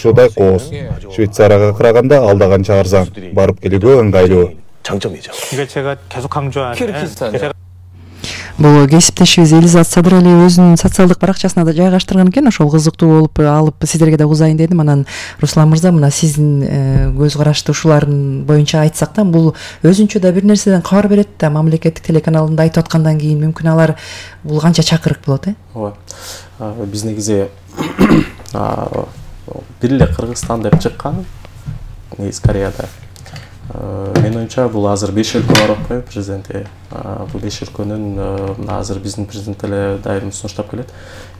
ушудай кооз. Швейцарияга караганда алда канча арзан, барып келүүгө ыңгайлуу. 장점이죠. 이게 제가 계속 강조하는 Бул кесиптешибиз Элизат Садырали өзүнүн социалдык баракчасына да жайгаштырган экен. Ошол кызыктуу болуп алып сиздерге да узайын дедим. Анан Руслан мырза, мына сиздин көз карашты ушулардын боюнча айтсак да, бул өзүнчө да бир нерседен кабар берет да. Мамлекеттик телеканалында айтып аткандан кийин мүмкүн алар бул канча чакырык болот, Ооба. Биз негизи бир эле Кыргызстан деп чыккан негизи Кореяда. Менин оюмча бул азыр 5 өлкө бар атпайбы президенти. Бул 5 өлкөнүн азыр биздин президент эле дайым сунуштап келет.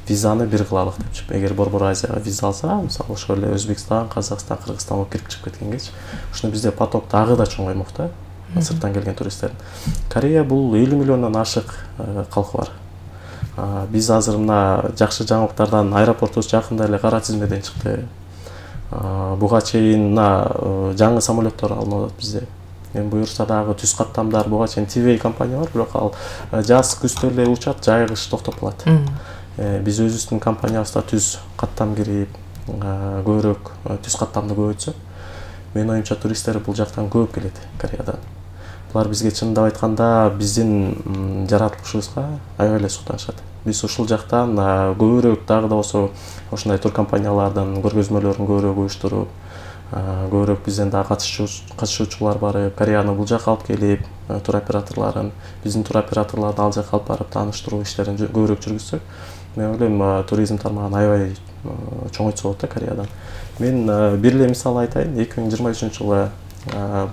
Визаны бир кылалык депчи. Эгер Борбор Азияга виза алса, мисалы ошол эле Өзбекстан, Казакстан, Кыргызстан болуп кирип чыгып кеткенгечи, ушуну бизде поток дагы да чоңоймок да. Сырттан келген туристтердин. Корея бул 50 миллиондон ашык калкы бар. Биз азыр мына жакшы жаңылыктардан аэропортубуз жакында эле кара тизмеден чыкты. Буга чейин жаңы самолеттор алынып атат бизде. Эми буюрса дагы түз каттамдар буга чейин TV компания бар, бирок ал жаз күздө эле учат, жай кыш токтоп калат. Биз өзүбүздүн компаниябызда түз каттам кирип, көбүрөөк түз каттамды көбөйтсөк, менин оюмча туристтер бул жактан көп келет, Кореядан. Булар бизге чындап айтканда биздин жаратылышыбызга аябай эле суктанышат. Биз ушул жактан көбүрөөк дагы да болсо ошондой тур компаниялардын көргөзмөлөрүн көбүрөөк уюштуруп, көбүрөөк бизден да катышуучулар барып, Кореяны бул жакка алып келип, тур операторлорун, биздин тур операторлорду ал жакка алып барып тааныштыруу иштерин көбүрөөк жүргүзсөк, мен ойлойм туризм тармагын аябай чоңойтса болот да Кореядан. Мен бир эле мисал айтайын, 2023-жылы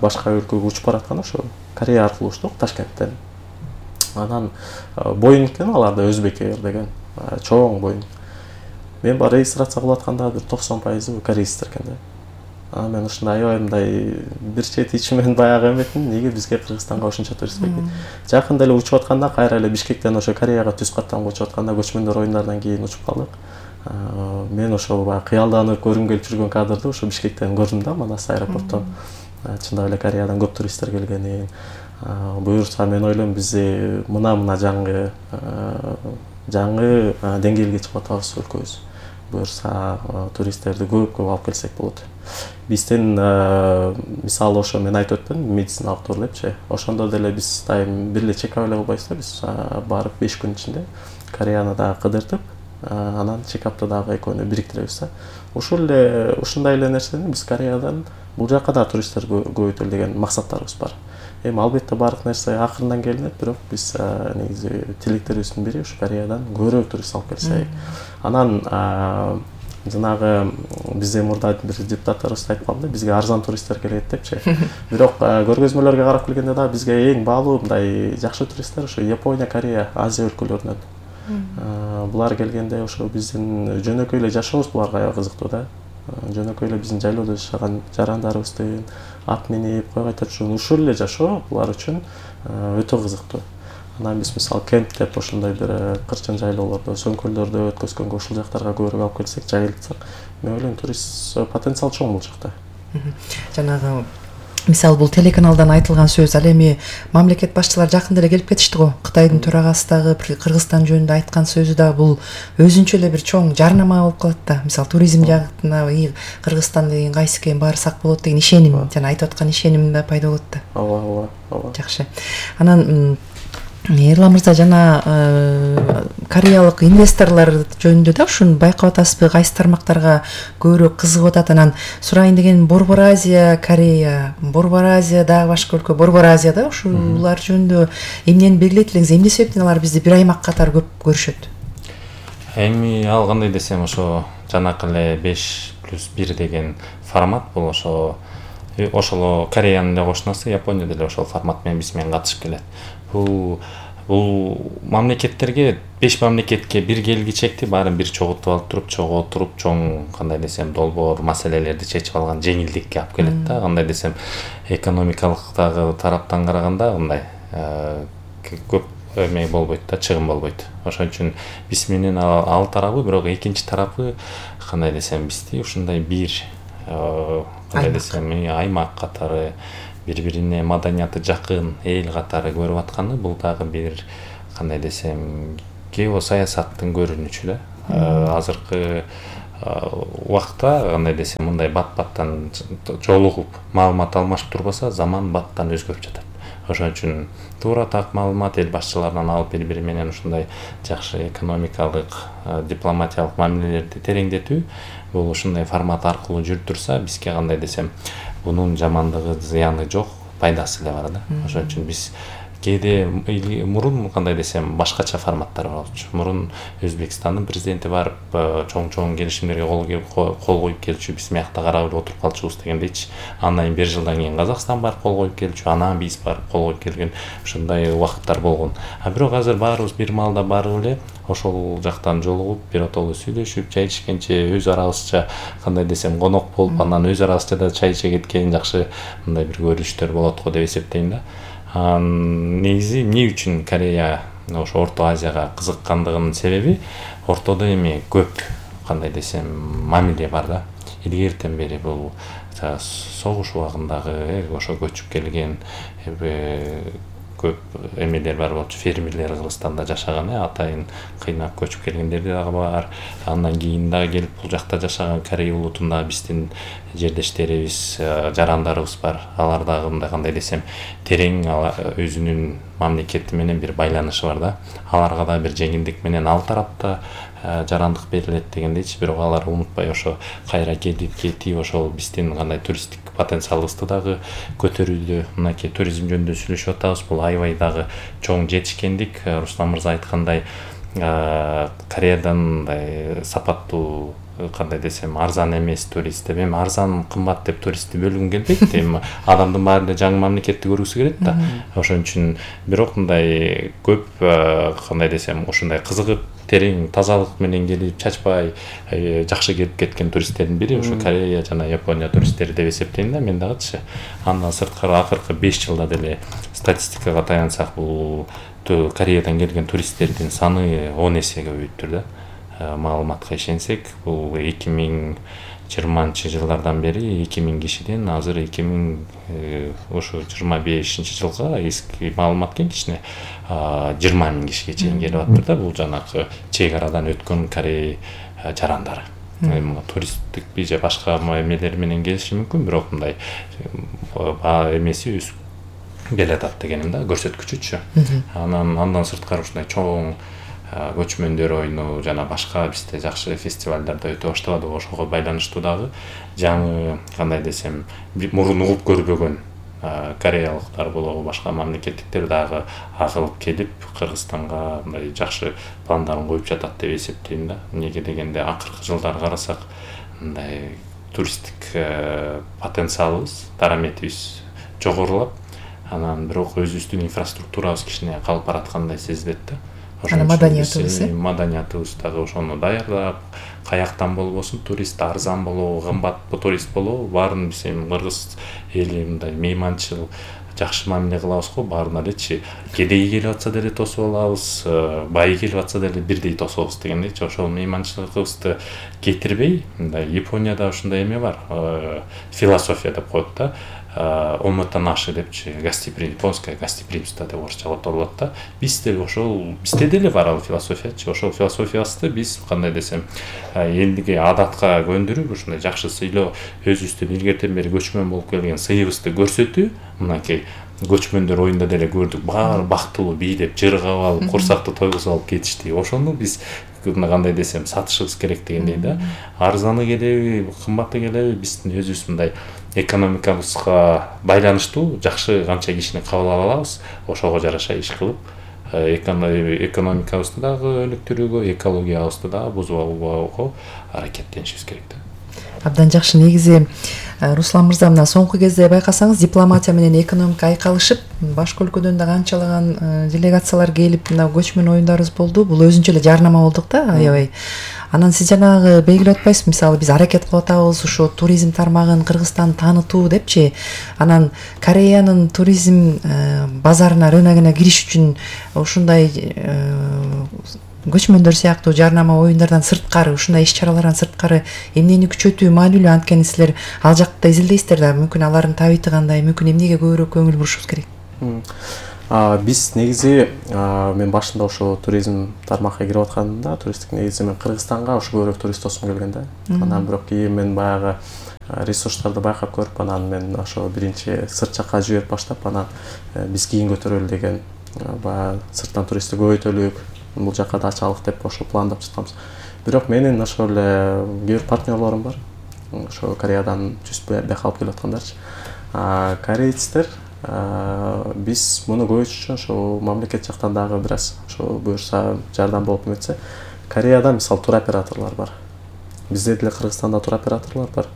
башка өлкөгө учуп бараткан ошо Корея аркылуу учтук, Ташкенттен. Анан Боинг экен, аларда Өзбек Air деген чоң Боинг. Мен бар регистрация кылып атканда бир 90% корейцтер экен да. Мен ушундай аябай мындай бир чет ичимен баягы эметмин, неге бизге Кыргызстанга ушунча турист келбейт. Жакында эле учуп атканда кайра эле Бишкектен ошо Кореяга түз каттамга учуп атканда көчмөндөр оюндарынан кийин учуп калдык. Мен ошо баягы кыялданып көргүм келип жүргөн кадрды ошо Бишкектен көрдүм да, Манас аэропорттон. Чындап эле Кореядан көп туристтер келгенин. Буюрса мен ойлойм биз мына жаңы деңгээлге чыгып атабыз өлкөбүз. Буюрса туристтерди көп алып келсек болот. Бизден мисалы ошо мен айтып өттүм, медициналык тур депчи. Ошондо деле биз дайым бир эле чекап эле кылбайбыз да, биз барып 5 күн ичинде Кореяны дагы кыдыртып, анан чекапты дагы экөөнү бириктиребиз да. Ушундай эле нерсени биз Кореядан бул жакка да туристтер көбөйтөлү деген максаттарыбыз бар. Эми албетте баардык нерсе акырындан келинет, бирок биз негизи тилектерибиздин бири ушу Кореядан көбүрөөк турист алып келсек. Анан жанагы бизде мурда бир депутаттарыбыз айтып калды, бизге арзан туристтер келет депчи. Бирок көргөзмөлөргө карап келгенде да бизге эң баалуу мындай жакшы туристтер ошо Япония, Корея, Азия өлкөлөрүнөн. Булар келгенде ошо биздин жөнөкөй эле жашообуз буларга аябай кызыктуу да. Жөнөкөй эле биздин жайлоодо жашаган жарандарыбыздын ат минип, кой кайтып жүргөн ушул эле жашоо булар үчүн өтө кызыктуу. Анан биз мисалы кемп деп ошондой бир кырчын жайлоолордо, сөмкөлдөрдө өткөзгөнгө ушул жактарга көбүрөөк алып келсек, жайылтсак, мен ойлойм турист потенциал чоң бул жакта. Жанагы мисалы бул телеканалдан айтылган сөз, ал эми мамлекет башчылары жакында эле келип кетишти го. Кытайдын төрагасы дагы Кыргызстан жөнүндө айткан сөзү да бул өзүнчө эле бир чоң жарнама болуп калат да. Мисалы туризм жагына Кыргызстан деген кайсы экен барсак болот деген ишеним, жана айтып аткан ишеним да пайда болот да. Ооба. Жакшы. Анан Эрлан мырза, жана кореялык инвесторлор жөнүндө да ушуну байкап атасызбы, кайсы тармактарга көбүрөөк кызыгып атат? Анан сурайын деген Борбор Азия, Корея, Борбор Азия дагы башка өлкө, Борбор Азияда ушулар жөнүндө эмнени белгилейт элеңиз? Эмне себептен алар бизди бир аймак катары көп көрүшөт? Эми ал кандай десем, ошо жанакы эле 5+1 деген формат бул, ошол Кореянын эле кошунасы, Япония деле ошол формат менен биз менен катышып келет. Бул мамлекеттерге 5 мамлекетке бир келгичекти баарын бир чогултуп алып туруп, чоң кандай десем долбоор маселелерди чечип алган жеңилдикке алып келет да. Кандай десем, экономикалык дагы тараптан караганда мындай көп эме болбойт да, чыгым болбойт. Ошон үчүн биз менен ал тарабы, бирок экинчи тарапы кандай десем, бизди ушундай бир кандай десем, аймак катары, бири-бирине маданияты жакын эл катары көрүп атканы, бул дагы бир кандай десем, геосаясаттын көрүнүчү да. Азыркы убакта кандай десем мындай бат-баттан жолугуп маалымат алмашып турбаса заман баттан өзгөрүп жатат. Ошон үчүн туура так маалымат эл башчыларынан алып бири-бири менен ушундай жакшы экономикалык, дипломатиялык мамилелерди тереңдетүү бул ушундай формат аркылуу жүрүп турса, бизге кандай десем бунун жамандыгы, зыяны жок, пайдасы эле бар да. Ошон үчүн биз кээде мурун кандай десем башкача форматтар болчу. Мурун Өзбекстандын президенти барып чоң келишимдерге кол коюп келчү, биз мыякта карап отуруп калчубуз дегендейчи. Андан кийин 1 жылдан кийин Казакстан барып кол коюп келчү, анан биз барып кол коюп келген ушундай убакыттар болгон. Бирок азыр баарыбыз бир маалда барып эле ошол жактан жолугуп, биротоло сүйлөшүп, чай ичкенче өз арабызча кандай десем конок болуп, анан өз арабызча да чай иче кеткен жакшы мындай бир көрүнүштөр болот го деп эсептейм да. Негизи эмне үчүн Корея ошо Орто Азияга кызыккандыгынын себеби ортодо эми көп кандай десем мамиле бар да. Илгертен бери бул согуш убагындагы ошо көчүп келген көп эмелер бар болчу, фермерлер Кыргызстанда жашаган, атайын кыйнап көчүп келгендер дагы бар. Андан кийин дагы келип бул жакта жашаган Корей улутунда биздин жердештерибиз, жарандарыбыз бар. Алар дагы мындай кандай десем терең өзүнүн мамлекети менен бир байланышы бар да. Аларга да бир жеңилдик менен ал тарапта жарандык берилет дегендейчи, бирок алар унутпай ошо кайра келип кетип ошол биздин кандай туристтик потенциалыбызды дагы көтөрүүдө, мынакей туризм жөнүндө сүйлөшүп атабыз. Бул аябай дагы чоң жетишкендик. Руслан мырза айткандай, Кореядан мындай сапаттуу кандай десем арзан эмес турист деп, эми арзан кымбат деп туристти бөлгүм келбейт. Эми адамдын баары эле жаңы мамлекетти көргүсү келет да. Ошон үчүн бирок мындай көп кандай десем ушундай кызыгып терең тазалык менен келип чачпай жакшы келип кеткен туристтердин бири ушу Корея жана Япония туристтери деп эсептейм да мен дагычы. Андан сырткары акыркы 5 жылда деле статистикага таянсак бул Кореядан келген туристтердин саны 10 эсеге көбөйүптүр да. Маалыматка ишенсек, бул 2020-жылдардан бери 2000 кишиден азыр 2025-жылга эски маалымат кичине 20 000 кишиге чейин келип атыр да. Бул жанагы чек арадан өткөн Корей жарандары. Туристтик же башка эмелер менен келиши мүмкүн, бирок мындай эмеси өсүп келатат дегеним да, көрсөткүчүчү. Андан сырткары ушундай чоң көчмөндөр ойну жана башка бизде жакшы фестивалдарда өтө баштабады, ошого байланыштуу дагы жаңы кандай десем мурун угуп көрбөгөн кореялыктар болобу башка мамлекеттиктер дагы агылып келип Кыргызстанга мындай жакшы пландарын коюп жатат деп эсептейм да. Эмнеге дегенде акыркы жылдары карасак мындай туристтик потенциалыбыз, дараметибиз жогорулап, анан бирок өзүбүздүн инфраструктурабыз кичине калып бараткандай сезилет да. Маданиятыбыз дагы ошону даярдап, каяктан болбосун турист арзан болобу, кымбат турист болобу, баарын биз эми кыргыз эли мындай мейманчыл жакшы мамиле кылабыз го, баарына элечи. Кедей келип атса деле тосуп алабыз, бай келип атса деле бирдей тособуз дегендейчи. Ошол мейманчылыгыбызды кетирбей, мындай Японияда ушундай эме бар, философия деп коет да. Омотанаши депчи, японское гостеприимство деп орусча которулат да. Бизде деле бар ал философиячы. Ошол философиясты биз кандай десем элдиге адатка көндүрүп, ушундай жакшы сыйлоо, өзүбүздүн илгертен бери көчмөн болуп келген сыйыбызды көрсөтүү, мынакей көчмөндөр оюнда деле көрдүк, баары бактылуу бийлеп, жыргап алып, курсакты тойгузуп алып кетишти. Ошону биз кандай десем сатышыбыз керек дегендей да. Арзаны келеби, кымбаты келеби, биздин өзүбүз мындай экономикабызга байланыштуу жакшы канча кишини кабыл ала алабыз, ошого жараша иш кылып, экономикабызды дагы өнүктүрүүгө, экологиябызды дагы бузбоого аракеттенишибиз керек да. Абдан жакшы. Негизи Руслан мырза, мына соңку кезде байкасаңыз дипломатия менен экономика айкалышып, башка өлкөдөн да канчалаган делегациялар келип, мына көчмөн оюндарыбыз болду. Бул өзүнчө эле жарнама болдук да, аябай. Анан сиз жанагы белгилеп атпайсызбы, мисалы биз аракет кылып атабыз ушу туризм тармагын Кыргызстанды таанытуу депчи. Анан Кореянын туризм базарына, рыногуна кириш үчүн ушундай көчмөндөр сыяктуу жарнама оюндардан сырткары, ушундай иш-чаралардан сырткары эмнени күчөтүү маанилүү, анткени силер ал жакта изилдейсиздер да, мүмкүн алардын табиты кандай, мүмкүн эмнеге көбүрөөк көңүл бурушубуз керек? Биз негизи мен башында ошо туризм тармакка кирип атканда туристтик негизи мен Кыргызстанга ошо көбүрөөк турист досум келген да. Анан бирок кийин мен баягы ресурстарды байкап көрүп, анан мен ошо биринчи сырт жакка жиберип баштап, анан биз кийин көтөрөлү деген баягы сырттан туристти көбөйтөлүк, бул жакка да ачалык деп ошо пландап жатканбыз. Бирок менин ошо эле кээ бир партнерлорум бар. Ошо Кореядан жүз бияка алып келип аткандарчы. Корейцтер биз муну көбөйтүш үчүн ошо мамлекет жактан дагы бир аз ошо буюрса жардам болуп эметсе, Кореяда мисалы туроператорлор бар. Бизде деле Кыргызстанда туроператорлор бар.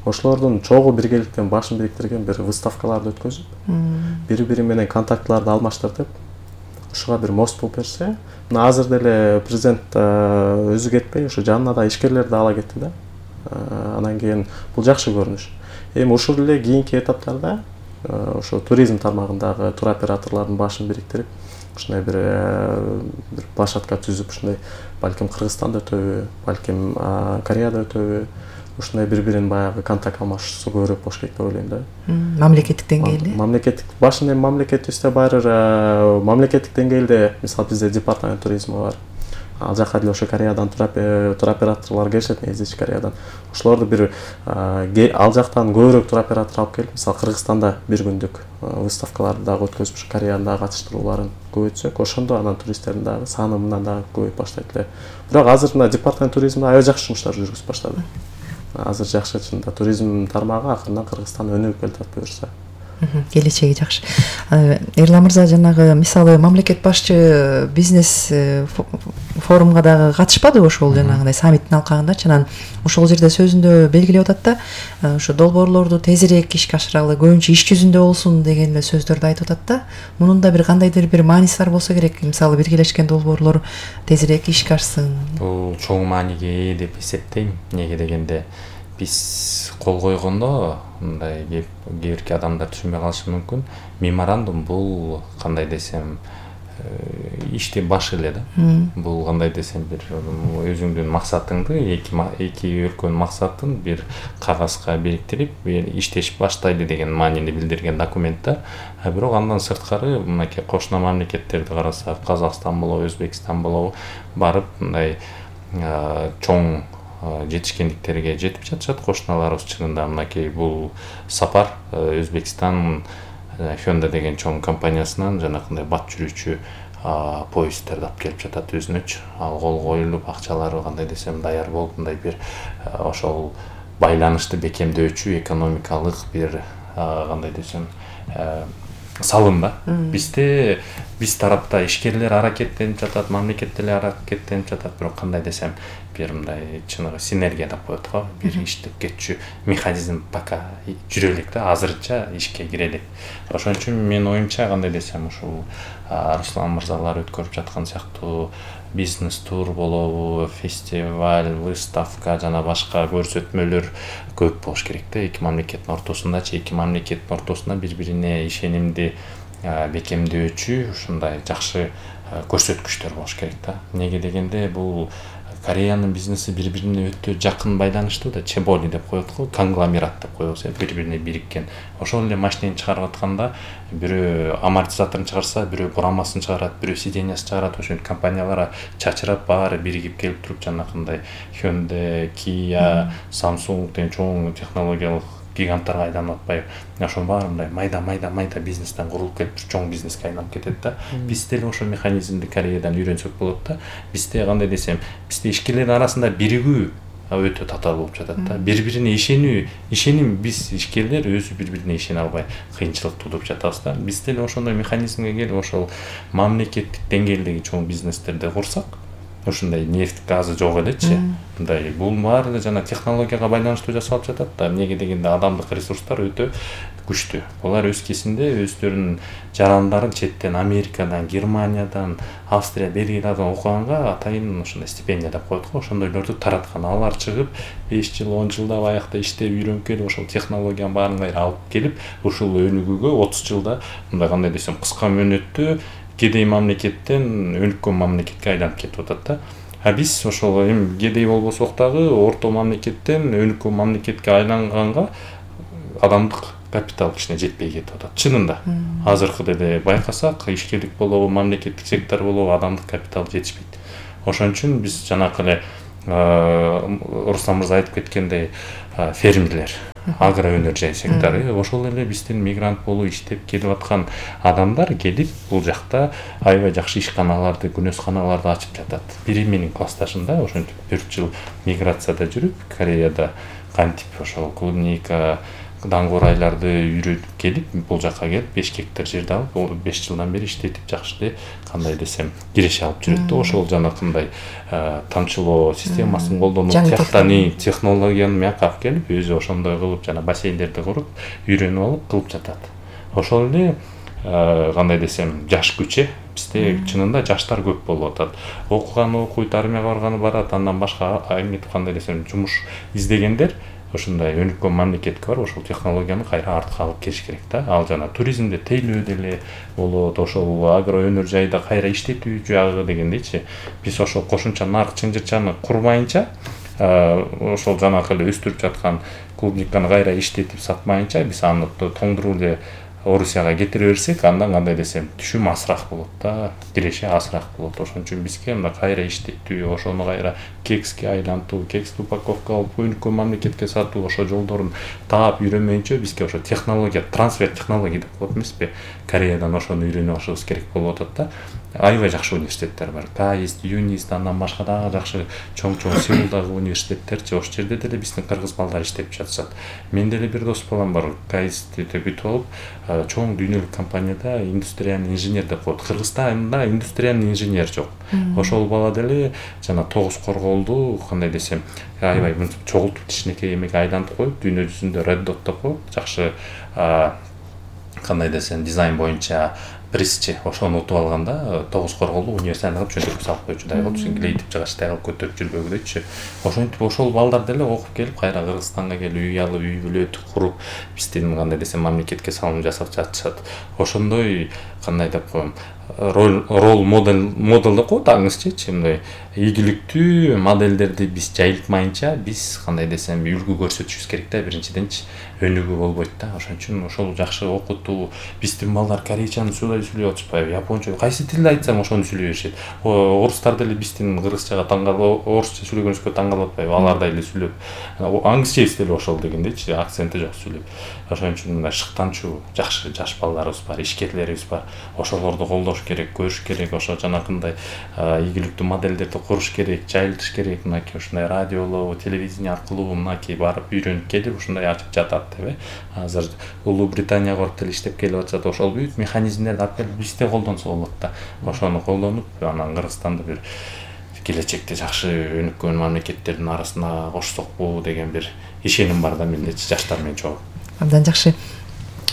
Ошолордун чогуу биргеликтен башын бириктирген бир выставкаларды өткөзүп, бири-бири менен контактларды алмаштырып, ушуга бир мост болуп берсе, мына азыр деле президент өзү кетпей, ошо жанына да ишкерлерди ала кетти да. Анан кийин бул жакшы көрүнүш. Эми ушул эле кийинки этаптарда ошо туризм тармагындагы туроператорлордун башын бириктирип, ушундай бир площадка түзүп, ушундай балким Кыргызстанда өтөбү, балким Кореяда өтөбү, ушундай бири-бирин баягы контакт алмашуусу көбүрөөк болуш керек деп ойлойм да. Мамлекеттик деңгээлде? Мамлекеттик башында мамлекетибизде баары мамлекеттик деңгээлде, мисалы бизде департамент туризми бар. Ал жака деле ошо Кореядан туроператорлор келишет, негизи Кореядан. Ошолорду бир ал жактан көбүрөөк туроператор алып келип, мисалы Кыргызстанда бир күндүк выставкаларды дагы өткөзүп, Кореянын дагы катыштырууларын көбөйтсөк, ошондо анан туристтердин дагы саны мындан дагы көбөйүп баштайт эле. Бирок азыр мына департамент туризмде аябай жакшы жумуштар жүргүзүп баштады. Азыр жакшы чында туризм тармагы акырынан Кыргызстан өнүгүп келатат буюрса. Келечеги жакшы. Эрлан мырза, жанагы мисалы мамлекет башчы бизнес форумга дагы катышпады ошол жанагындай саммиттин алкагындачы, анан ошол жерде сөзүндө белгилеп атат да, ошо долбоорлорду тезирээк ишке ашыралы, көбүнчө иш жүзүндө болсун деген эле сөздөрдү айтып атат да. Мунун да бир кандайдыр бир мааниси бар болсо керек, мисалы биргелешкен долбоорлор тезирээк ишке ашсын. Бул чоң мааниге ээ деп эсептейм. Эмнеге дегенде биз кол койгондо мындай кээ бирки адамдар түшүнбөй калышы мүмкүн. Меморандум бул кандай десем ишти башы эле да. Бул кандай десем бир өзүңдүн максатыңды, эки өлкөнүн максатын бир кагазга бириктирип, иштешип баштайлы деген маанини билдирген документ да. Бирок андан сырткары мынакей кошуна мамлекеттерди карасак, Казакстан болобу, Өзбекстан болобу барып мындай чоң жетишкендиктерге жетип жатышат кошуналарыбыз. Чынында мынакей бул сапар Өзбекстан Hyundai деген чоң компаниясынан жанакындай бат жүрүүчү поезддерди алып келип жатат өзүнөчү. Ал кол коюлуп, акчалары кандай десем даяр болуп, мындай бир ошол байланышты бекемдөөчү экономикалык бир кандай десем салым да. Биз тарапта ишкерлер аракеттенип жатат, мамлекет деле аракеттенип жатат, бирок кандай десем бир мындай чыныгы синергия деп коет го, бир иштеп кетчү механизм пока жүрө элек да, азырынча ишке кире элек. Ошон үчүн менин оюмча кандай десем ушул Руслан мырзалар өткөрүп жаткан сыяктуу бизнес тур болобу, фестиваль, выставка жана башка көрсөтмөлөр көп болуш керек да. Эки мамлекеттин ортосундачы, эки мамлекеттин ортосунда бири-бирине ишенимди бекемдөөчү ушундай жакшы көрсөткүчтөр болуш керек да. Эмнеге дегенде бул Кореянын бизнеси бири-бирине өтө жакын байланыштуу да, чеболи деп коет го, конгломерат деп коебуз, бири-бирине бириккен. Ошол эле машинени чыгарып атканда бирөө амортизаторун чыгарса, бирөө бурамасын чыгарат, бирөө сиденьясын чыгарат, ошол компаниялар чачырап баары биригип келип туруп жанакындай Hyundai, Kia, Samsung деген чоң технологиялык гиганттарга айланып атпайбы. Ошонун баары мындай майда бизнестен курулуп келип чоң бизнеске айланып кетет да. Биз деле ошол механизмди Кореядан үйрөнсөк болот да. Бизде кандай десем, бизде ишкерлердин арасында биригүү өтө татаал болуп жатат да. Бири-бирине ишеним биз ишкерлер өзү бири-бирине ишене албай кыйынчылык туудуруп жатабыз да. Биз деле ошондой механизмге келип ошол мамлекеттик деңгээлдеги чоң бизнестерди курсак, ушундай нефть, газы жок элечи. Мындай бул баары эле жана технологияга байланыштуу жасалып жатат да. Эмнеге дегенде адамдык ресурстар өтө күчтүү. Булар өз кезинде өздөрүнүн жарандарын четтен, Америкадан, Германиядан, Австрия, Бельгиядан окуганга атайын ушундай стипендия деп коет го, ошондойлорду тараткан. Алар чыгып 5 жыл, 10 жылда аякта иштеп үйрөнүп келип, ошол технологиянын баарын кайра алып келип, ушул өнүгүүгө 30 жылда мындай кандай десем кыска мөөнөттө кедей мамлекеттен өнүккөн мамлекетке айланып кетип атат да. Биз ошол эми кедей болбосок дагы орто мамлекеттен өнүккөн мамлекетке айланганга адамдык капитал кичине жетпей кетип атат чынында. Азыркы деле байкасак, ишкерлик болобу, мамлекеттик сектор болобу, адамдык капитал жетишпейт. Ошон үчүн биз жанакы эле Руслан мырза айтып кеткендей, фермерлер, агроөнөр сектору, ошол эле биздин мигрант болуп иштеп келип аткан адамдар келип бул жакта аябай жакшы ишканаларды, күнөсканаларды ачып жатат. Бири менин классташымда ошентип 4 жыл миграцияда жүрүп, Кореяда кантип ошол клубника, даңгурайларды үйрөнүп келип, бул жака келип 5 гектар жерди алып, 5 жылдан бери иштетип жакшы эле кандай десем киреше алып жүрөт да. Ошол жанакындай тамчылоо системасын колдонуп, технологияны мияка алып келип, өзү ошондой кылып жана бассейндерди куруп, үйрөнүп алып кылып жатат. Ошол эле кандай десем жаш күч бизде чынында жаштар көп болуп атат. Окуганы окуйт, армияга барганы барат, андан башка кандай десем жумуш издегендер ошондой өнүккөн мамлекетке барып, ошол технологияны кайра артка алып келиш керек да. Ал жана туризмде тейлөө деле болот, ошол агроөнөр жайда кайра иштетүү жагы дегендейчи. Биз ошол кошумча нарк чынжырчаны курмайынча, ошол жанакы эле өстүрүп жаткан клубниканы кайра иштетип сатмайынча, биз аны тоңдуруп эле Орусияга кетире берсек, андан кандай десем түшүм азыраак болот да, киреше азыраак болот. Ошон үчүн бизге мына кайра иштетүү, ошону кайра кекске айлантуу, кексти упаковка алып өнүккөн мамлекетке сатуу, ошо жолдорун таап үйрөнмөйүнчө бизге ошо технология, трансфер технология деп коет эмеспи? Кореядан ошону үйрөнүп алышыбыз керек болуп атат да. Аябай жакшы университеттер бар. КАИСТ, ЮНИСТ, андан башка дагы жакшы чоң-чоң Сеулдагы университеттерчи, ошол жерде деле биздин кыргыз балдар иштеп жатышат. Мен деле бир дос балам бар, КАИСТти бүтүп алып, чоң дүйнөлүк компанияда индустриальный инженер деп коет. Кыргызстанда индустриальный инженер жок. Ошол бала деле жана тогуз корголду кандай десем, аябай чогултуп кичинекей эмеге айлантып коюп, дүйнө жүзүндө Red Dot деп коюп, жакшы кандай десем дизайн боюнча призчи ошону утуп алганда, тогуз корголду университетке чөндүрүп салып койчудай кылып, лейтип жагачтай кылып көтөрүп жүрбөгүдөйчү. Ошентип ошол балдар деле окуп келип, кайра Кыргызстанга келип үй алып, үй бүлөт куруп, биздин кандай десем мамлекетке салым жасап жатышат. Ошондой кандай деп коем, рол модель деп коет аңызчычы, мындай ийгиликтүү модельдерди биз жайылтмайынча, биз кандай десем үлгү көрсөтүшүбүз керек да, биринчиденчи өнүгүү болбойт да. Ошон үчүн ошол жакшы окутуу, биздин балдар корейчаны сүйлөп атышпайбы, японча, кайсы тилди айтсаң ошону сүйлөй беришет. Орустар деле биздин кыргызчага орусча сүйлөгөнүбүзгө таң калып атпайбы, алардай эле сүйлөп. Аңызчебиз деле ошол дегендейчи, акценти жок сүйлөп. Ошон үчүн мына шыктанчу жакшы жаш балдарыбыз бар, ишкерлерибиз бар. Ошолорду колдош керек, көрүш керек, ошо жанакындай ийгиликтүү модельдерди куруш керек, жайылтыш керек. Мынакей ушундай радиолоо, телевидение аркылуу мынакей барып үйрөнүп келип, ушундай ачып жатат деп. Азыр Улуу Британияга барып деле иштеп келип атышат. Ошол бүт механизмдерди алып келип бизде колдонсо болот да. Ошону колдонуп, анан Кыргызстанды бир келечекте жакшы өнүккөн мамлекеттердин арасына кошсокпу деген бир ишеним бар да мендечи, жаштар менен чогуу. Абдан жакшы.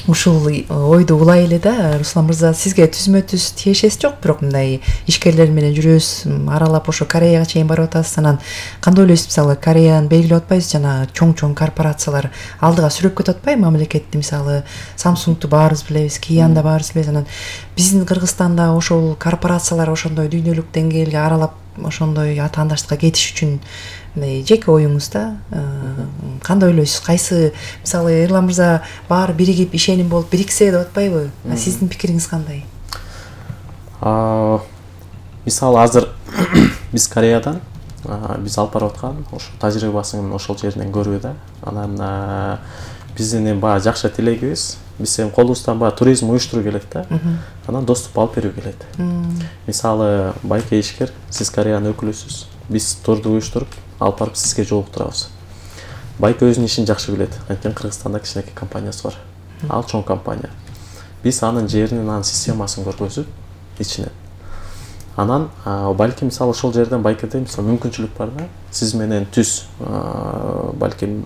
Ушул ойду улай эле да, Руслан мырза, сизге түзмө-түз тиешеси жок, бирок мындай ишкерлер менен жүрөсүз, аралап ошо Кореяга чейин барып атасыз. Анан кандай ойлойсуз, мисалы Кореяны белгилеп атпайсыз, жана чоң-чоң корпорациялар алдыга сүрөп кетип атпайбы мамлекетти? Мисалы Samsung'ду баарыбыз билебиз, Kia'ны да баарыбыз билебиз. Анан биздин Кыргызстанда ошол корпорациялар ошондой дүйнөлүк деңгээлге аралап ошондой атаандаштыкка кетиш үчүн жеке оюңуз да, кандай ойлойсуз? Кайсы, мисалы Эрлан мырза баары биригип ишеним болуп бириксе деп атпайбы? Сиздин пикириңиз кандай? Мисалы азыр биз Кореядан биз алып барып аткан ошо тажрыйбасын ошол жеринен көрүү да. Анан биздин эми баягы жакшы тилегибиз, биз эми колубуздан баягы туризм уюштуруу келет да. Анан доступ алып берүү келет. Мисалы байке ишкер, сиз Кореянын өкүлүсүз, биз турду уюштуруп алып барып сизге жолуктурабыз. Байке өзүнүн ишин жакшы билет. Анткени Кыргызстанда кичинекей компаниясы бар. Ал чоң компания. Биз анын жеринин, анын системасын көргөзүп, ичинен. Анан балким мисалы ошол жерден байкеде мисалы мүмкүнчүлүк бар да. Сиз менен түз балким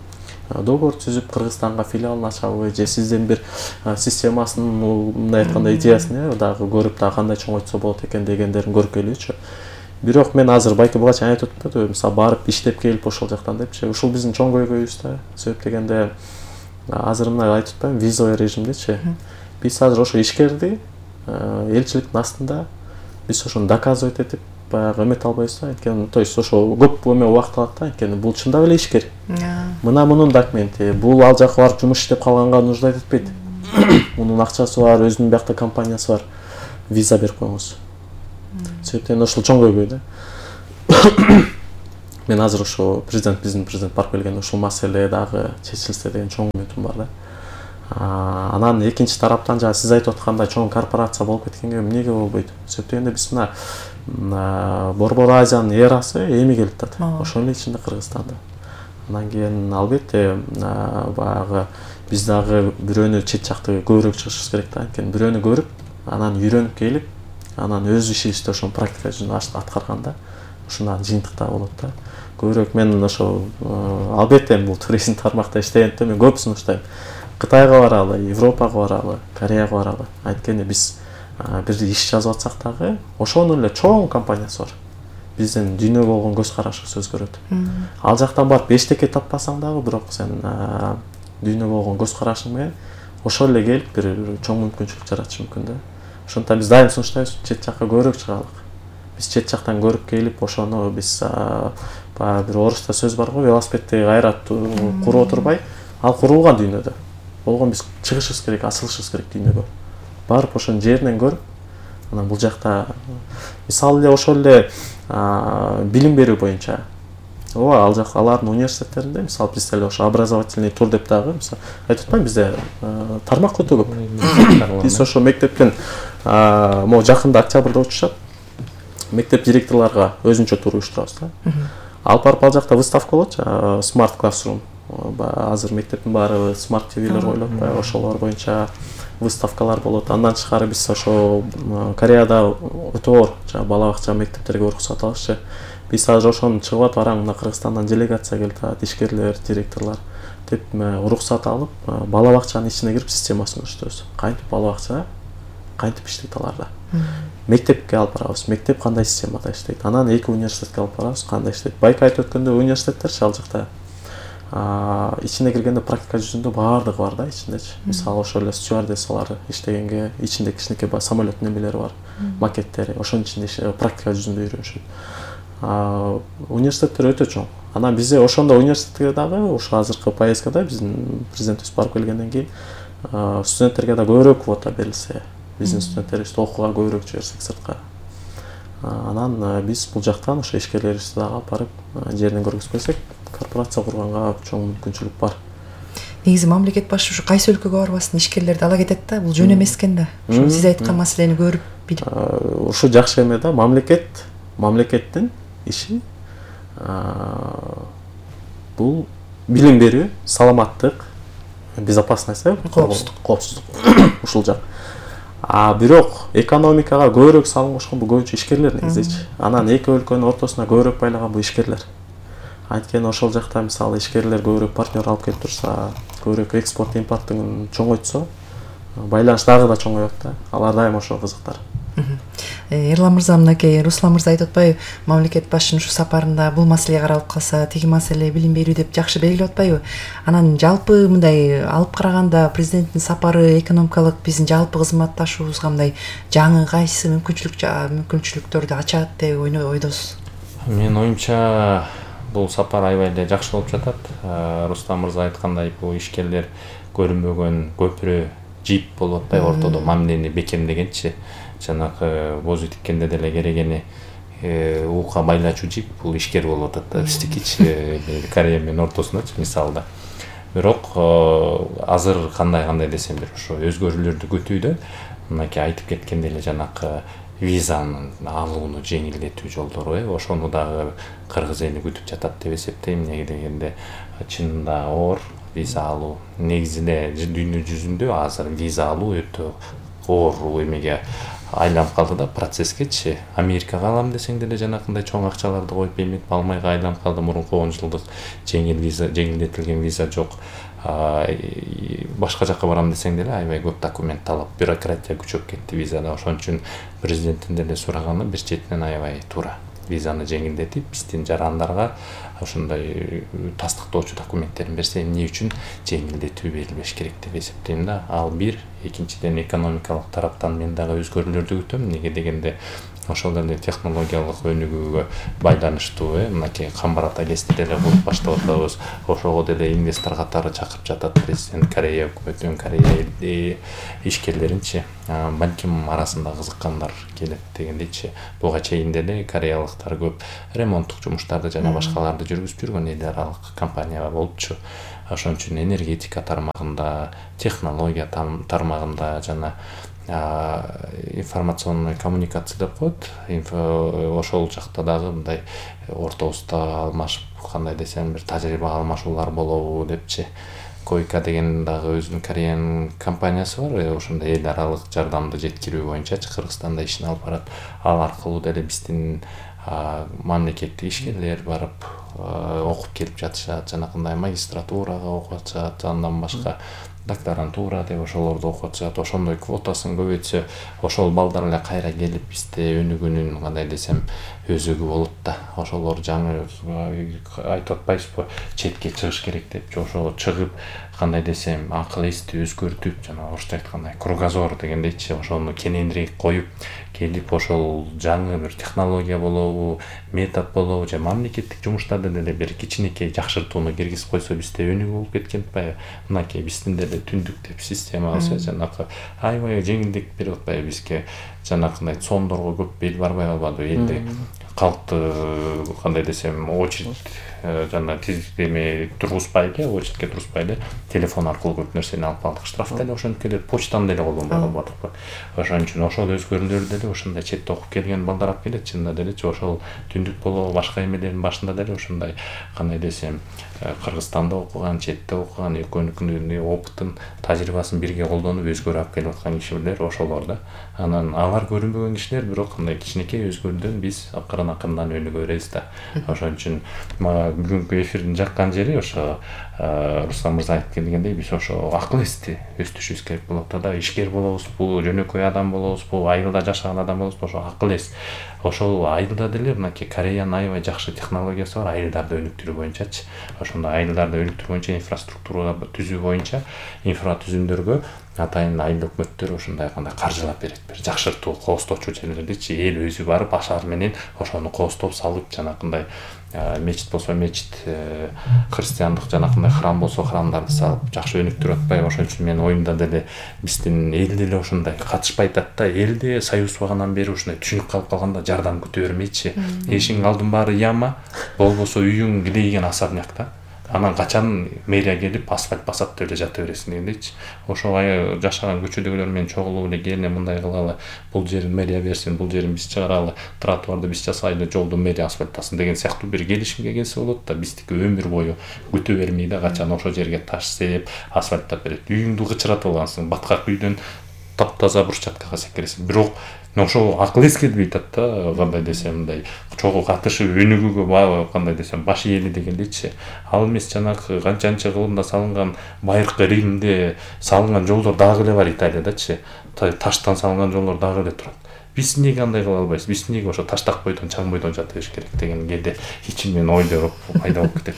договор түзүп Кыргызстанга филиалын ачабы, же сизден бир системасынын мындай айтканда идеясын дагы көрүп, дагы кандай чоңойтсо болот экен дегендерин көргөлүчү. Бирок мен азыр байке буга чейин айтып атпадыбы, мисалы барып иштеп келип ошол жактан депчи. Ушул биздин чоң көйгөйүбүз да. Себеп дегенде азыр мындай айтып атпаймынбы, визовый режимдечи. Биз азыр ошо ишкерди элчиликтин астында биз ошону доказывать этип, баягы эмете албайбыз да, анткени то есть ошо көп эме убакыт алат да, анткени бул чындап эле ишкер. Мына мунун документи, бул ал жака барып жумуш иштеп калганга нуждайт этпейт. Мунун акчасы бар, өзүнүн биякта компаниясы бар. Виза берип коюңуз. Себептен ошол чоң көйгөй да. Мен азыр ошо биздин президент барып келгенде ушул маселе дагы чечилсе деген чоң үмүтүм бар да. Анан экинчи тараптан жана сиз айтып аткандай чоң корпорация болуп кеткенге эмнеге болбойт? Себептен биз мына Борбор Азиянын эрасы эми келип атат. Ошол эле ичинде Кыргызстанда. Андан кийин албетте баягы биз дагы бирөөнү чет жакты көбүрөөк чыгышыбыз керек да. Анткени бирөөнү көрүп, анан үйрөнүп келип, анан өз ишибизди ошону практика жүзүндө аткарганда ушундан жыйынтык да болот да. Көбүрөөк мен ошо албетте бул туризм тармакта иштегенде мен көп сунуштайм. Кытайга баралы, Европага баралы, Кореяга баралы. Анткени биз бир иш жазып атсак дагы ошонун эле чоң компаниясы бар. Биздин дүйнөгө болгон көз карашыбыз өзгөрөт. Ал жактан барып эчтеке таппасаң дагы, бирок сен дүйнөгө болгон көз карашың менен ошол эле келип бир чоң мүмкүнчүлүк жаратышы мүмкүн да. Ошондуктан биз дайым сунуштайбыз, чет жакка көбүрөөк чыгалык. Биз чет жактан көрүп келип, ошону биз баягы бир орусча сөз бар го, велосипедти кайра куруп отурбай, ал курулган дүйнөдө. Болгон биз чыгышыбыз керек, асылышыбыз керек дүйнөгө. Барып ошонун жеринен көрүп, анан бул жакта мисалы эле ошол эле билим берүү боюнча ооба ал жак алардын университеттеринде мисалы бизде эле ошо образовательный тур деп дагы мисалы айтып атпайм, бизде тармак өтө көп. Биз ошо мектептен могу жакында октябрда учушат. Мектеп директорлорго өзүнчө тур уюштурабыз да. Алып барып ал жакта выставка болот, Smart Classroom. Азыр мектептин баары смарт ТВлер коюлат, ошолор боюнча выставкалар болот. Андан тышкары биз ошо Кореяда өтө оор бала бакча мектептерге уруксат алышчы. Биз азыр ошону чыгып атып бараң, мына Кыргызстандан делегация келип атат, ишкерлер, директорлор деп уруксат алып, бала бакчанын ичине кирип системасын өчтөбүз. Кантип бала бакча, кантип иштейт аларда. Мектепке алып барабыз, мектеп кандай системада иштейт. Анан эки университетке алып барабыз, кандай иштейт. Байка айтып өткөндө университеттерчи ал жакта ичине киргенде практика жүзүндө баардыгы бар да ичиндечи. Мисалы ошол эле стюардессалар иштегенге ичинде кичинекей самолеттин немелери бар, макеттери, ошонун ичинде практика жүзүндө үйрөнүшөт. Университеттер өтө чоң. Анан бизде ошондо университетке дагы ошо азыркы поездкада биздин президентибиз барып келгенден кийин студенттерге да көбүрөөк квота берилсе, биздин студенттерибизди окууга көбүрөөк жиберсек сыртка. Анан биз бул жактан ошо ишкерлерибизди дагы алып барып жеринен көргөзүп келсек, корпорация курганга чоң мүмкүнчүлүк бар. Негизи мамлекет башы ушу кайсы өлкөгө барбасын ишкерлерди ала кетет да, бул жөн эмес экен да. Ошо сиз айткан маселени көрүп билип. Ушу жакшы эме да, мамлекеттин иши бул билим берүү, саламаттык, безопасность, коопсуздук ушул жак. Бирок экономикага көбүрөөк салым кошкон бул көбүнчө ишкерлер негизичи. Анан эки өлкөнүн ортосуна көбүрөөк байлаган бул ишкерлер. Анткени ошол жакта мисалы ишкерлер көбүрөөк партнер алып келип турса, көбүрөөк экспорт импорттун чоңойтса, байланыш дагы да чоңоет да. Алар дайым ошого кызыктар. Эрлан мырза, мынакей Руслан мырза айтып атпайбы, мамлекет башчынын ушу сапарында бул маселе каралып калса, тиги маселе билим берүү деп жакшы белгилеп атпайбы? Анан жалпы мындай алып караганда президенттин сапары экономикалык биздин жалпы кызматташуубузга мындай жаңы кайсы мүмкүнчүлүктөрдү ачат деп ойдосуз? Менин оюмча бул сапар аябай эле жакшы болуп жатат. Руслан мырза айткандай, бул ишкерлер көрүнбөгөн көпүрө жип болуп атпайбы ортодо, мамилени бекемдегенчи. Жанагы бозу тиккенде деле керегени уука байлачу жип бул ишкер болуп атат да, биздикичи Корея менен ортосундачы мисалда. Бирок азыр кандай десем бир ошо өзгөрүүлөрдү күтүүдө, мынакей айтып кеткендей эле жанакы визанын алууну жеңилдетүү жолдору, ошону дагы кыргыз эли күтүп жатат деп эсептейм. Неге дегенде чынында оор виза алуу. Негизи эле дүйнө жүзүндө азыр виза алуу өтө оор эмеге айланып калды да, процесскечи. Америкага алам десең деле жанакындай чоң акчаларды коюп эметип алмайга айланып калды. Мурунку 10 жылдык жеңилдетилген виза жок. Башка жакка барам десең деле аябай көп документ талап, бюрократия күчөп кетти визада. Ошон үчүн президенттин деле сураганы бир четинен аябай туура. Визаны жеңилдетип, биздин жарандарга ошондой тастыктоочу документтерин берсе, эмне үчүн жеңилдетүү берилбеш керек деп эсептейм да. Ал бир, экинчиден экономикалык тараптан мен дагы өзгөрүүлөрдү күтөм. Неге дегенде ошол эле технологиялык өнүгүүгө байланыштуу мынакей Камбарат айлеси деле куруп баштап атабыз. Ошого деле инвестор катары чакырып жатат президент, Корея өкмөтүнүн, Корея ишкерлеринчи. Балким арасында кызыккандар келет дегендейчи. Буга чейин деле кореялыктар көп ремонттук жумуштарды жана башкаларды жүргүзүп жүргөн эл аралык компания болупчу. Ошон үчүн энергетика тармагында, технология тармагында жана информационный коммуникация деп коет. Ошол жакта дагы мындай ортобузда алмашып, кандай десем, бир тажрыйба алмашуулар болобу депчи. Койка деген дагы өзүнүн Кореянын компаниясы бар. Ошондой эл аралык жардамды жеткирүү боюнча Кыргызстанда ишин алып барат. Ал аркылуу деле биздин мамлекеттик ишкерлер барып окуп келип жатышат, жанакындай магистратурага окуп атышат, андан башка докторантура деп ошолорду окуп атышат. Ошондой квотасын көбөйтсө, ошол балдар эле кайра келип бизде өнүгүүнүн, кандай десем, өзөгү болот да. Ошолор жаңы айтып атпайсызбы, четке чыгыш керек деп, ошого чыгып, кандай десем, акыл эсти өзгөртүп, жана орусча айткандай кругозор дегендейчи, ошону кененирээк коюп келип, ошол жаңы бир технология болобу, метод болобу, же мамлекеттик жумуштарды деле бир кичинекей жакшыртууну киргизип койсо, бизде өнүгүү болуп кеткен атпайбы? Мынакей биздин деле түндүк деп системабыз жанакы аябай жеңилдик берип атпайбы бизге? Жанакындай цондорго көп бел барбай калбады элде. Калкты, кандай десем, очередь жана тизиктеме тургузбай эле, очередке тургузбай эле телефон аркылуу көп нерсени алып алдык. Штраф деле ошентип келет, почтаны деле колдонбой калбадыкпы? Ошон үчүн ошол өзгөрүүлөр деле ошондой четте окуп келген балдар алып келет. Чынында делечи ошол түндүк болобу, башка эмелердин башында деле ошондой, кандай десем, Кыргызстанда окуган, четте окуган, экөөнүкүнүн опытын, тажрыйбасын бирге колдонуп өзгөрүп алып келип аткан кишилер ошолор да. Анан алар көрүнбөгөн кишилер, бирок кандай кичинекей өзгөрүүдөн биз акырын өнүгө беребиз да. Ошон үчүн бүгүнкү эфирдин жаккан жери ошо Руслан мырза айтып келгендей, биз ошо акыл эсти өстүрүшүбүз керек болот да. Ишкер болобузбу, жөнөкөй адам болобузбу, айылда жашаган адам болобузбу, ошо акыл эс. Ошол айылда деле мынакей Кореянын аябай жакшы технологиясы бар, айылдарды өнүктүрүү боюнчачы. Ошондой айылдарды өнүктүрүү боюнча, инфраструктура түзүү боюнча, инфратүзүмдөргө атайын айыл өкмөттөр ошондой кандай каржылап берет, бир жакшыртуу, коосточу жерлердичи эл өзү барып ашар менен ошону коостоп салып, жанакындай мечит болсо мечит, христиандык жанакындай храм болсо храмдарды салып жакшы өнүктүрүп атпайбы? Ошон үчүн менин оюмда деле биздин эл деле ошондой катышпай атат да. Элде союз баганан бери ушундай түшүнүк калып калганда жардам күтө бермейчи. Эшиңин алдын баары яма, болбосо үйүң килейген особняк да. Анан качан мэрия келип асфальт басат деп эле жата бересиң дегендейчи. Ошо жашаган көчөдөгүлөр менен чогулуп эле келине мындай кылалы, бул жерин мэрия берсин, бул жерин биз чыгаралы, тротуарды биз жасайлы, жолду мэрия асфальттасын деген сыяктуу бир келишимге келсе болот да. Биздики өмүр бою күтө бермей да, качан ошол жерге таш сээп, асфальттап берет. Үйүңдү кычыратып алгансың, баткак үйдөн таптаза брусчаткага секиресиң. Бирок ошол акыл эс келбей атат да, кандай десем, мындай чогуу катышып өнүгүүгө кандай десем баш ээли дегендейчи. Ал эмес жанагы канчанчы кылымда салынган байыркы Римде салынган жолдор дагы эле бар Италиядачы. Таштан салынган жолдор дагы эле турат. Биз эмнеге андай кыла албайбыз? Биз эмнеге ошо таштак бойдон, чаң бойдон жата бериш керек деген кээде ичимден ойлор пайда болуп кетет.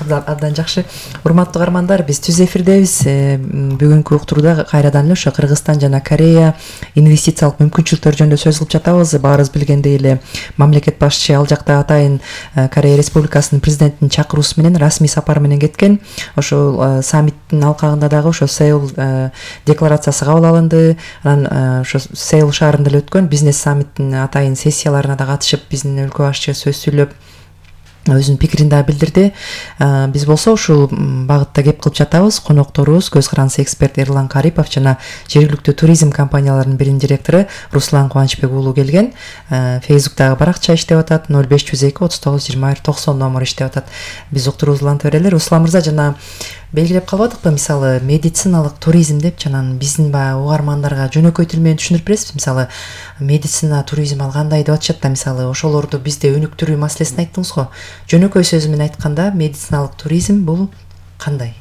Абдан жакшы. Урматтуу каармандар, биз түз эфирдебиз. Бүгүнкү уктурууда кайрадан эле ошо Кыргызстан жана Корея инвестициялык мүмкүнчүлүктөр жөнүндө сөз кылып жатабыз. Баарыбыз билгендей эле мамлекет башчы ал жакта атайын Корея Республикасынын президентинин чакыруусу менен расмий сапар менен кеткен. Ошол саммиттин алкагында дагы ошо Сеул декларациясы кабыл алынды. Анан ошо Сеул шаарында өткөн бизнес саммиттин атайын сессияларына да катышып, биздин өлкө башчы сөз сүйлөп өзүнүн пикирин да билдирди. Биз болсо ушул багытта кеп кылып жатабыз. Конокторубуз көз карандысы эксперт Эрлан Карипов жана жергиликтүү туризм компанияларынын биринин директору Руслан Кубанычбек уулу келген. Фейсбуктагы баракча иштеп атат, 0502 39 20 90 номер иштеп атат. Биз уктуруубузду уланта берели. Руслан мырза, жана белгилеп калбадыкпы, мисалы медициналык туризм деп, жанагы биздин баягы угармандарга жөнөкөй тил менен түшүндүрүп бересизби? Мисалы медицина, туризм ал кандай деп атышат да, мисалы ошолорду бизде өнүктүрүү маселесин айттыңыз го. Жөнөкөй сөзү менен айтканда, медициналык туризм бул кандай?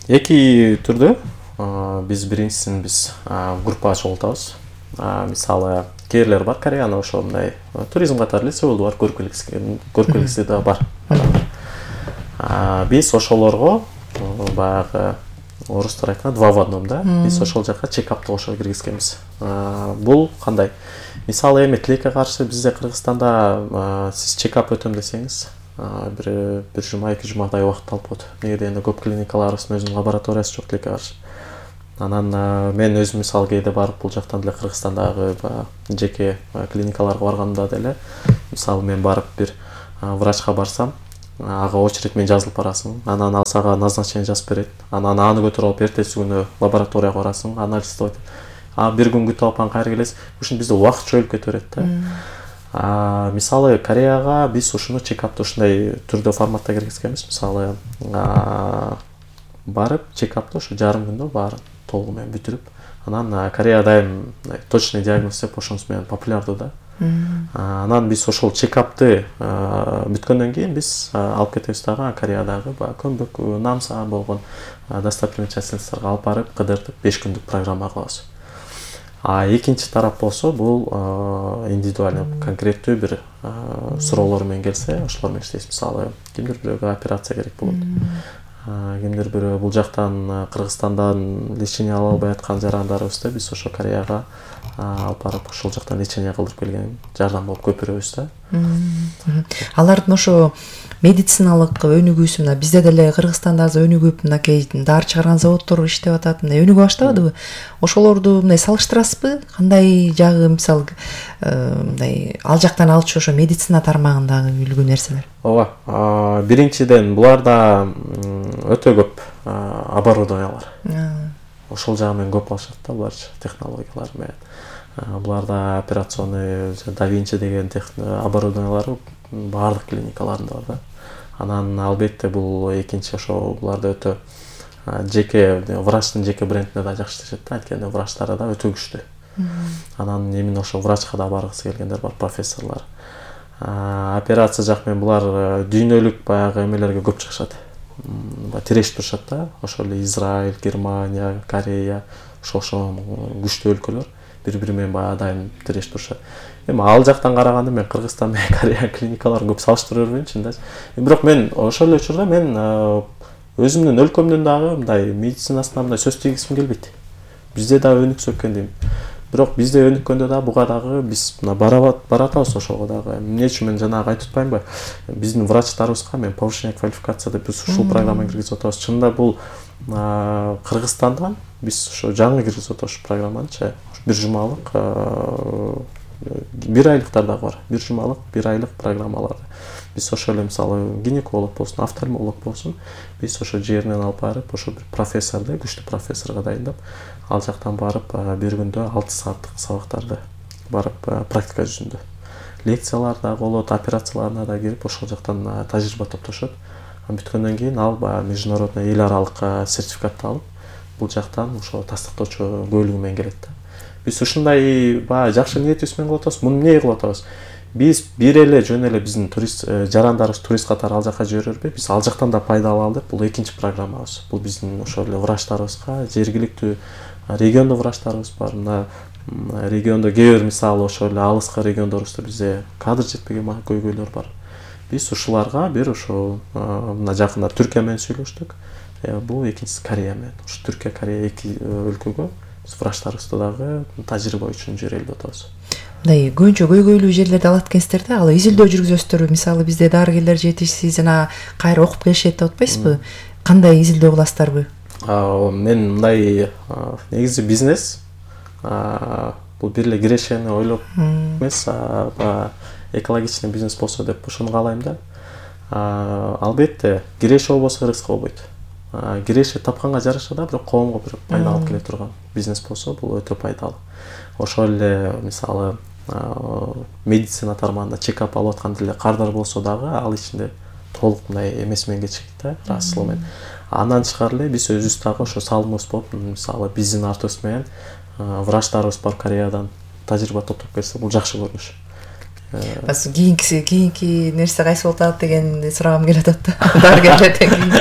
Эки түрдө. Биз биринчисин группа ачып атабыз. Мисалы кээрлер бар, Кореяны ошо мындай туризм катары эле Сеулду бар, көркөлүксү да бар. Биз ошолорго баягы орустар айткан 2 в 1 да. Биз ошол жака чекапты кошо киргизгенбиз. Бул кандай? Мисалы эми тилекке каршы бизде Кыргызстанда сиз чекап өтөм десеңиз, бир жума 2 жумадай убакыт алып коет. Неге дегенде көп клиникаларыбыздын өзүнүн лабораториясы жок тилекке каршы. Анан мен өзүм мисалы кээде барып бул жактан деле Кыргызстандагы жеке клиникаларга барганда деле, мисалы мен барып бир врачка барсам, ага очередь менен жазылып барасың. Анан ал сага назначение жазып берет. Анан аны көтөрүп алып эртеси күнү лабораторияга барасың, анализ жасап. Бир күн күтүп алып кайра келесиң. Ушун бизде убакыт чөйүлүп кете берет да. Мисалы Кореяга биз ушуну чекапты ушундай түрдө форматта киргизгенбиз. Мисалы барып чекапты ушу жарым күндө баарын толугу менен бүтүрүп, анан Кореяда эми точный диагноз деп ошонусу менен популярдуу да. Анан биз ошол чекапты бүткөндөн кийин биз алып кетебиз дагы Кореядагы көмбөк намса болгон достопримечательностторго алып барып кыдыртып 5 күндүк программа кылабыз. Экинчи тарап болсо бул индивидуальный конкреттүү бир суроолор менен келсе, ошолор менен иштейбиз. Мисалы кимдир бирөөгө операция керек болот. Кимдир бирөө бул жактан Кыргызстандан лечение ала албай аткан жарандарыбызды биз ошо Кореяга алып барып ошол жактан лечение кылдырып келген жардам болуп көп беребиз да. Алардын ошо медициналык өнүгүүсү мына бизде деле Кыргызстанда азыр өнүгүп, мынакей дары чыгарган заводдор иштеп атат, мындай өнүгө баштабадыбы? Ошолорду мындай салыштырасызбы? Кандай жагы мисалы мындай ал жактан алчу ошо медицина тармагындагы үлгү нерселер? Ооба, биринчиден буларда өтө көп оборудованиялар. Ошол жагы менен көп алышат да булар технологиялар менен. Буларда операционный Да Винчи деген оборудованиялар баардык клиникаларында бар да. Анан албетте бул экинчи ошо буларда өтө жеке врачтын жеке брендине да жакшы иштешет да, анткени врачтары да өтө күчтүү. Анан эмне ошо врачка да баргысы келгендер бар, профессорлор. Операция жак менен булар дүйнөлүк баягы эмелерге көп чыгышат. Тирешип турушат да, ошол эле Израиль, Германия, Корея, ошол күчтүү өлкөлөр бири-бири менен баягы дайым тирешип турушат. Эми ал жактан караганда мен Кыргызстан менен Корея клиникаларын көп салыштыра бербеймчүн да. Бирок мен ошол эле учурда мен өзүмдүн өлкөмдүн дагы мындай медицинасына мындай сөз тийгизгим келбейт. Бизде дагы өнүксө экен дейм. Бирок бизде өнүккөндө да буга дагы биз баратабыз ошого дагы. Эмне үчүн мен жанагы айтып атпаймынбы? Биздин врачтарыбызга мен повышение квалификация деп биз ушул программаны киргизип атабыз. Чынында бул Кыргызстандан биз ошо жаңы киргизип атабыз ушу программанычы. Бир жумалык, бир айлыктар дагы бар. Бир жумалык, бир айлык программалар. Биз ошо эле мисалы гинеколог болсун, офтальмолог болсун, биз ошо жеринен алып барып, ошо бир профессорду, күчтүү профессорго дайындап, ал жактан барып бир күндө 6 сааттык сабактарды барып практика жүзүндө. Лекциялар да болот, операцияларына да кирип ошол жактан тажрыйба топтошот. Бүткөндөн кийин ал международный эл аралык сертификатты алып, бул жактан ошо тастыктоочу бөлүгү менен келет да. Биз ушундай жакшы ниетибиз менен кылып атабыз. Муну эмне кылып атабыз? Биз бир эле жөн эле биздин турист жарандарыбыз турист катары ал жака жибербей, биз ал жактан да пайда алалы деп бул экинчи программабыз. Бул биздин ошол эле врачтарыбызга, жергиликтүү региондо врачтарыбыз бар. Мына региондо кээ бир мисалы ошол эле алыскы региондорубузда бизде кадр жетпеген көйгөйлөр бар. Биз ушуларга бир ошо мына жакында Түркия менен сүйлөштүк. Бул экинчиси Корея менен. Ушу Түркия, Корея эки өлкөгө биз врачтарыбызды дагы тажрыйба үчүн жиберели деп атабыз. Мындай көбүнчө көйгөйлүү жерлерди алат экенсиздер да, ал изилдөө жүргүзөсүздөрбү? Мисалы бизде дарыгерлер жетишсиз жана кайра окуп келишет деп атпайсызбы? Кандай изилдөө кыласыздарбы? Мен мындай негизи бизнес бул бир эле кирешени ойлоп эмес, экологичный бизнес болсо деп ошону каалайм да. Албетте киреше болбосо рызык болбойт. Киреше тапканга жараша да, бирок коомго бир пайда алып келе турган бизнес болсо бул өтө пайдалуу. Ошол эле мисалы медицина тармагында чекап алып аткан деле кардар болсо дагы ал ичинде толук мындай эмеси менен кечет да, расылы менен. Андан тышкары эле биз өзүбүз дагы ошо салымыбыз болуп, мисалы биздин артыбыз менен врачтарыбыз барып Кореядан тажрыйба топтоп келсе, бул жакшы көрүнүш. Кийинки нерсе кайсы болуп атат деген сурагым келип атат да. Дарыгерлерден кийин.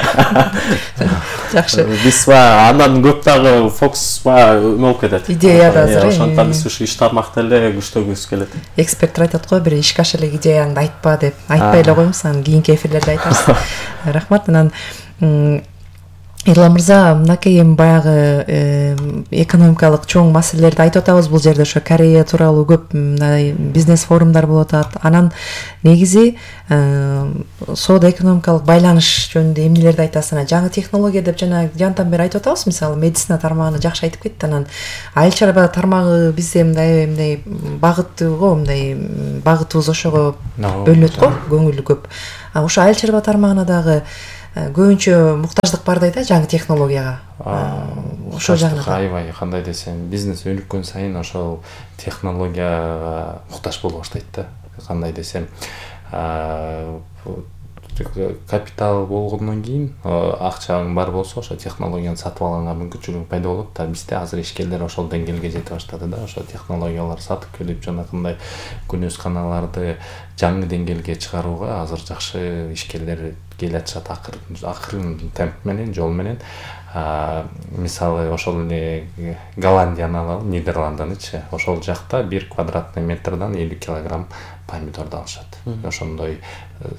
Жакшы. Биз андан көп дагы фокус эме болуп кетет. Идеяда азыр. Ошондуктан биз ушу иш тармакты эле күчтөгүбүз келет. Эксперттер айтат го, бир ишке ашыра элек идеяңды айтпа деп. Айтпай эле коюңуз, анан кийинки эфирлерде айтарсыз. Рахмат. Анан Эрлан мырза, мынакей эми баягы экономикалык чоң маселелерди айтып атабыз бул жерде. Ошо Корея тууралуу көп мындай бизнес форумдар болуп атат. Анан негизи соода экономикалык байланыш жөнүндө эмнелерди айтасыз? Анан жаңы технология деп жана жантан бери айтып атабыз, мисалы медицина тармагына жакшы айтып кетти. Анан айыл чарба тармагы бизде мындай багыттыго, мындай багытыбыз ошого бөлүнөт го, көңүлү көп. Ошо айыл чарба тармагына дагы көбүнчө муктаждык бар да жаңы технологияга. Ошол жагынан аябай кандай десем, бизнес өнүккөн сайын ошол технологияга муктаж боло баштайт да. Кандай десем, капитал болгондон кийин акчаң бар болсо ошо технологияны сатып алганга мүмкүнчүлүгүң пайда болот да. Бизде азыр ишкерлер ошол деңгээлге жете баштады да. Ошо технологиялар сатып келип жанакындай күнөсканаларды жаңы деңгээлге чыгарууга азыр жакшы ишкерлер келе атышат, акырын темп менен, жол менен. Мисалы ошол эле Голландияны алалы, Нидерландынычы. Ошол жакта 1 квадратный метрден 50 килограмм помидорду алышат. Ошондой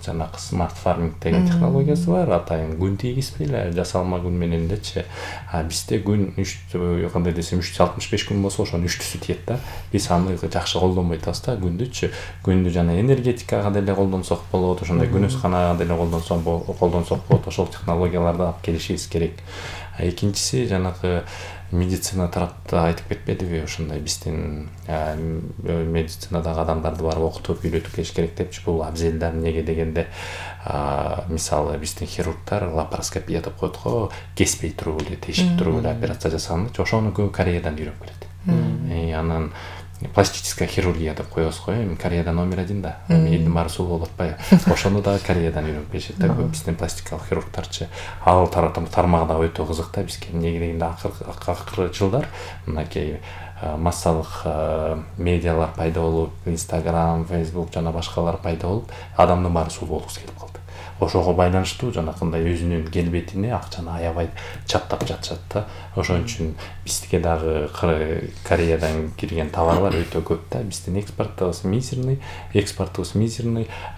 жанакы смарт фарминг деген технологиясы бар. Атайын күн тийгизбей эле жасалма күн менен элечи. Бизде күн кандай десем 365 күн болсо ошонун 3-түсү тиет да. Биз аны жакшы колдонбой атабыз да. Күндү жана энергетикага деле колдонсок болот, ошондой күнөсканага деле колдонсок болот. Ошол технологияларды алып келишибиз керек. Экинчиси жанагы медицина тарапта айтып кетпедиби, ошондой биздин медицинадагы адамдарды барып окутуп үйрөтүп келиш керек депчи. Бул абзел да. Эмнеге дегенде, мисалы биздин хирургдар лапароскопия деп коет го, кеспей туруп эле, тешип туруп эле операция жасаганычы. Ошону көбү Кореядан үйрөнүп келет. Анан пластическая хирургия деп коебуз го, эми Кореяда номер 1 да. Элдин баары суу болуп атпайбы? Ошону дагы Кореядан үйрөнүп келишет да, биздин пластикалык хирургдарчы. Ал тармагы да өтө кызык да бизге. Эмнеге дегенде акыркы жылдар мынакей массалык медиалар пайда болуп, Instagram, Facebook жана башкалар пайда болуп, адамдын баары суу болгусу келип калды. Ошого байланыштуу жанакындай өзүнүн келбетине акчаны аябай чаттап жатышат да. Ошон үчүн бизге дагы Кореядан кирген товарлар өтө көп да. Биздин экспортубуз мизерный,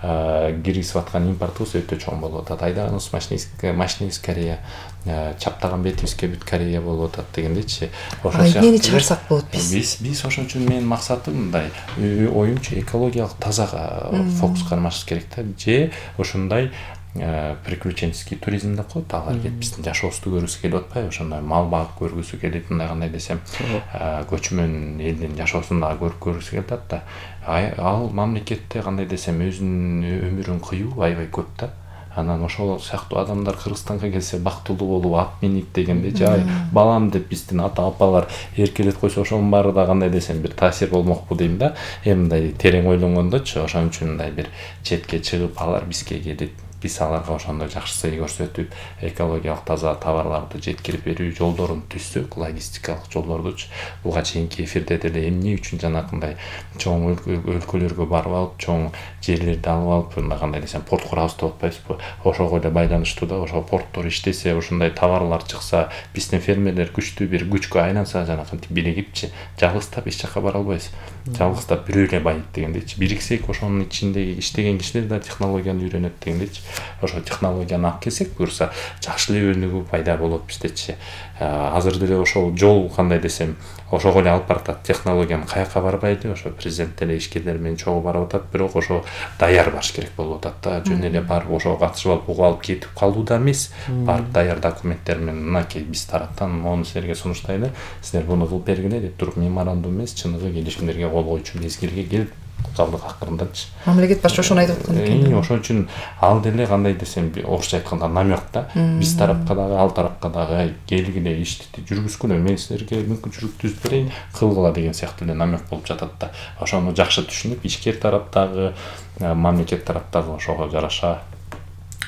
киргизип аткан импортубуз өтө чоң болуп атат. Айдаганыбыз машинибиз Корея, чаптаган бетибизге бүт Корея болуп атат дегендечи. Ошол эмнени чыгарсак болот биз ошон үчүн менин максатым мындай, оюмчу экологиялык тазага фокус кармашыбыз керек да. Же ошондой приключенческий туризм деп коет, алар келип биздин жашообузду көргүсү келип атпайбы? Ошондой мал багып көргүсү келип, мындай кандай десем, көчмөн элдин жашоосун дагы көргүсү келип атат да. Ал мамлекетте кандай десем, өзүнүн өмүрүн кыюу аябай көп да. Анан ошол сыяктуу адамдар Кыргызстанга келсе бактылуу болуп, ат минип дегенде, жай балам деп биздин ата-апалар эркелет койсо, ошонун баары да кандай десем бир таасир болмокпу дейм да. Мындай терең ойлонгондочу, ошон үчүн мындай бир четке чыгып, алар бизге келип, биз аларга ошондой жакшы сый көрсөтүп, экологиялык таза товарларды жеткирип берүү жолдорун түзсөк, логистикалык жолдордучу. Буга чейинки эфирде деле эмне үчүн жанакындай чоң өлкөлөргө барып алып, чоң жерлерди алып алып, мындай кандай десем, порт курабыз деп атпайбызбы? Ошого эле байланыштуу да. Ошол порттор иштесе, ошондой товарлар чыкса, биздин фермерлер күчтүү бир күчкө айланса, жанакынтип биригипчи, жалгыздап эч жакка бара албайбыз. Жалгыздап бирөө эле байыт дегендечи. Бириксек, ошонун ичиндеги иштеген кишилер да технологияны үйрөнөт дегендечи. Ошо технологияны алып келсек, буюрса жакшы эле өнүгүү пайда болот биздечи. Азыр деле ошол жол кандай десем, ошого эле алып баратат. Технологиянын каяка барбайды, ошо президент деле ишкерлер менен чогуу барып атат, бирок ошо даяр барыш керек болуп атат да. Жөн эле барып ошого катышып алып, угуп алып кетип калуу да эмес. Барып даяр документтер менен, мынакей биз тараптан мону силерге сунуштайлы, силер буну кылып бергиле деп туруп меморандум эмес, чыныгы келишимдерге кол коюучу мезгилге келип калдык акырындачы. Мамлекет башчы ошону айтып аткан экен. Ошон үчүн ал деле кандай десем, орусча айтканда намек да. Биз тарапка дагы, ал тарапка дагы келгиле, ишти жүргүзгүлө, мен силерге мүмкүнчүлүк түзүп берейин, кылгыла деген сыяктуу эле намек болуп жатат да. Ошону жакшы түшүнүп, ишкер тараптагы, мамлекет тараптагы ошого жараша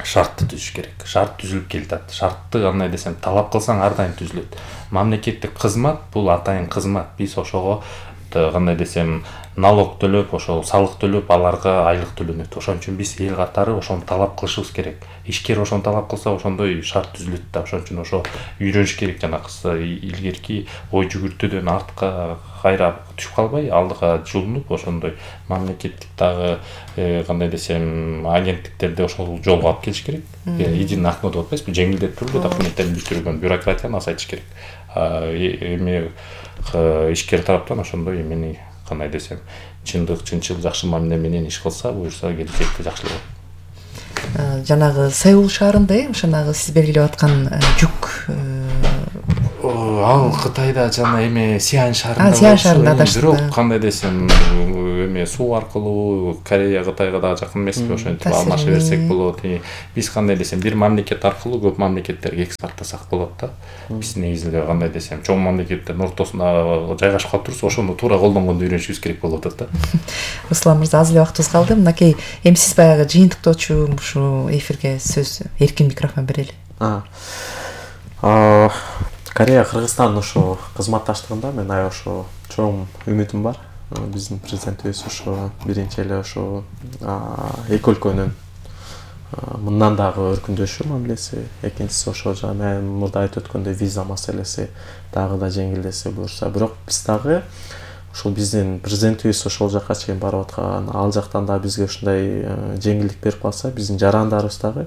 шартты түзүш керек. Шарт түзүлүп келатат. Шартты кандай десем, талап кылсаң ар дайым түзүлөт. Мамлекеттик кызмат бул атайын кызмат. Биз ошого кандай десем, налог төлөп, ошол салык төлөп, аларга айлык төлөнөт. Ошон үчүн биз эл катары ошону талап кылышыбыз керек. Ишкер ошону талап кылса, ошондой шарт түзүлөт да. Ошон үчүн ошо үйрөнүш керек, жанакысы илгерки ой жүгүртүүдөн артка кайра түшүп калбай, алдыга жылынып, ошондой мамлекеттик дагы кандай десем, агенттиктерди ошол жолго алып келиш керек. Единый окно деп атпайсызбы, жеңилдетип документтерин бүтүргөн бюрократияны азайтыш керек. Эми ишкер тараптан ошондой эмени кандай десем, чынчыл жакшы мамиле менен иш кылса, буюрса келечекте жакшылык болот. Жанагы Сеул шаарында ошонагы сиз белгилеп аткан жүк ал Кытайда жана эме Сиань шаарында бирок кандай десем, эме суу аркылуу Корея Кытайга дагы жакын эмеспи, ошентип алмаша берсек болот. Биз кандай десем, бир мамлекет аркылуу көп мамлекеттерге экспорттасак болот да. Биз негизинде кандай десем, чоң мамлекеттердин ортосуна жайгашып калып турсу, ошону туура колдонгонду үйрөнүшүбүз керек болуп атат да. Руслан мырза, аз эле убактыбыз калды. Мынакей, эми сиз баягы жыйынтыктоочу ушу эфирге сөз, эркин микрофон берели. Корея Кыргызстан ошо кызматташтыгында мен ошо чоң үмүтүм бар. Биздин президентибиз ошо биринчи эле ошо эки өлкөнүн мындан дагы өркүндөшү мамилеси, экинчиси ошо жана мурда айтып өткөндөй виза маселеси дагы да жеңилдесе буюрса. Бирок биз дагы ошол биздин президентибиз ошол жакка чейин барып аткан, ал жактан да бизге ушундай жеңилдик берип калса, биздин жарандарыбыз дагы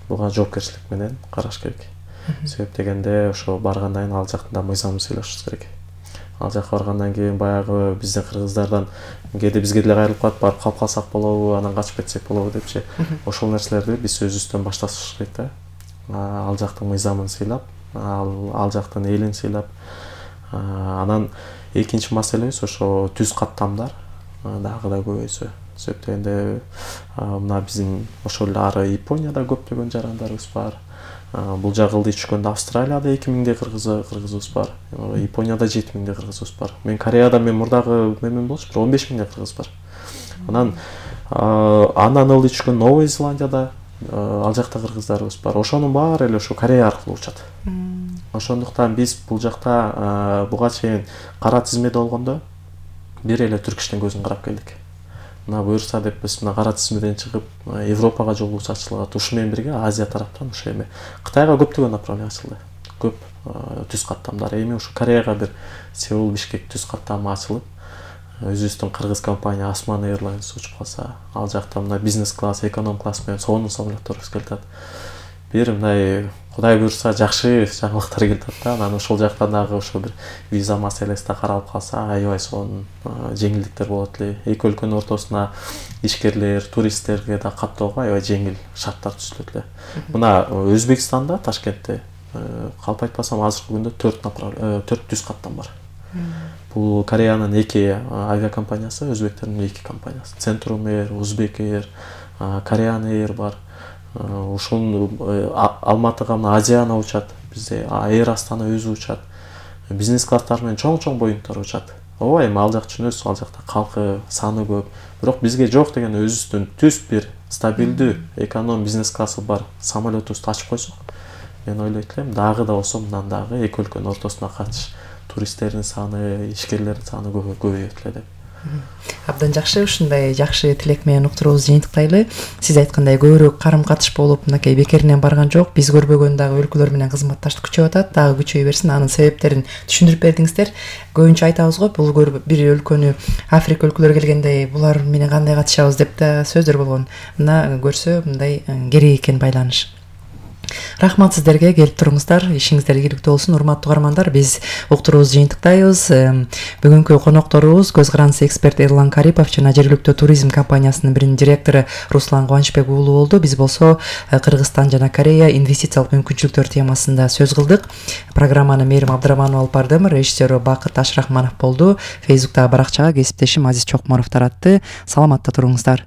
буга жоопкерчилик менен караш керек. Себеп дегенде ошо баргандан кийин ал жактан да мыйзам сыйлашыбыз керек. Ал жакка баргандан кийин баягы биздин кыргыздардан кээде бизге деле кайрылып калат, барып калып калсак болобу, анан качып кетсек болобу депчи. Ошол нерселерди биз өзүбүздөн башташыбыз керек да. Ал жактын мыйзамын сыйлап, ал жактын элин сыйлап, анан экинчи маселебиз ошо түз каттамдар дагы да көбөйсө. Себеп дегенде мына биздин ошол эле ары Японияда көптөгөн жарандарыбыз бар. Бул жагы ылдый түшкөндө Австралияда 2000 кыргызыбыз бар. Японияда 7000 кыргызыбыз бар. Мен Кореяда мурдагы мемен болчу, 15000 кыргыз бар. Анан ылдый түшкөн Новая Зеландияда ал жакта кыргыздарыбыз бар. Ошонун баары эле ошо Корея аркылуу учат. Ошондуктан биз бул жакта буга чейин кара тизмеде болгондо бир эле Түрк-иштин көзүн карап келдик. Мына буюрса деп биз мына кара тизмеден чыгып Европага жолубуз ачылат. Ушу менен бирге Азия тараптан ушу эми Кытайга көптөгөн направление ачылды. Көп түз каттамдар. Эми ушу Кореяга бир Сеул Бишкек түз каттамы ачылып, өзүбүздүн кыргыз компания Osman Airlines учуп калса, ал жакта мына бизнес класс, эконом класс менен сонун самолетторубуз келатат. Бир мындай Кудай буюрса жакшы жаңылыктар келатат да. Анан ошол жактан дагы ошо бир виза маселеси да каралып калса, аябай сонун жеңилдиктер болот эле. Эки өлкөнүн ортосуна ишкерлер, туристтерге да каттоого аябай жеңил шарттар түзүлөт эле. Мына Өзбекстанда, Ташкентте калп айтпасам азыркы күндө 4 түз каттам бар. Бул Кореянын 2 авиакомпаниясы, өзбектердин 2 компаниясы. Centrum Air, Uzbek Air, Korean Air бар. Ушул Алматыга мына Азияна учат, бизде Air Astana өзү учат. Бизнес класстар менен чоң боюнтар учат. Ооба, эми ал жак түшүнөсүз, ал жакта калкы саны көп. Бирок бизге жок деген өзүбүздүн түз бир стабилдүү эконом бизнес классы бар самолетубузду ачып койсок, мен ойлойт элем дагы да болсо мындан дагы эки өлкөнүн ортосуна катыш туристтердин саны, ишкерлердин саны көбөйөт эле деп. Абдан жакшы, ушундай жакшы тилек менен уктуруубузду жыйынтыктайлы. Сиз айткандай көбүрөөк карым-катыш болуп, мынакей бекеринен барган жок. Биз көрбөгөн дагы өлкөлөр менен кызматташтык күчөп атат, дагы күчөй берсин. Анын себептерин түшүндүрүп бердиңиздер. Көбүнчө айтабыз го, бул бир өлкөнү Африка өлкөлөрү келгенде булар менен кандай катышабыз деп да сөздөр болгон. Мына көрсө мындай керек экен байланыш. Рахмат сиздерге, келип туруңуздар. Ишиңиздер ийгиликтүү болсун, урматтуу угармандар. Биз уктуруубузду жыйынтыктайбыз. Бүгүнкү конокторубуз көз карандысы эксперт Эрлан Карипов жана жергиликтүү туризм компаниясынын биринчи директору Руслан Кубанычбек уулу болду. Биз болсо Кыргызстан жана Корея инвестициялык мүмкүнчүлүктөр темасында сөз кылдык. Программаны Мээрим Абдрахманова алып бардым, режиссеру Бакыт Ашрахманов болду. Фейсбуктагы баракчага кесиптешим Азиз Чокморов таратты. Саламатта туруңуздар.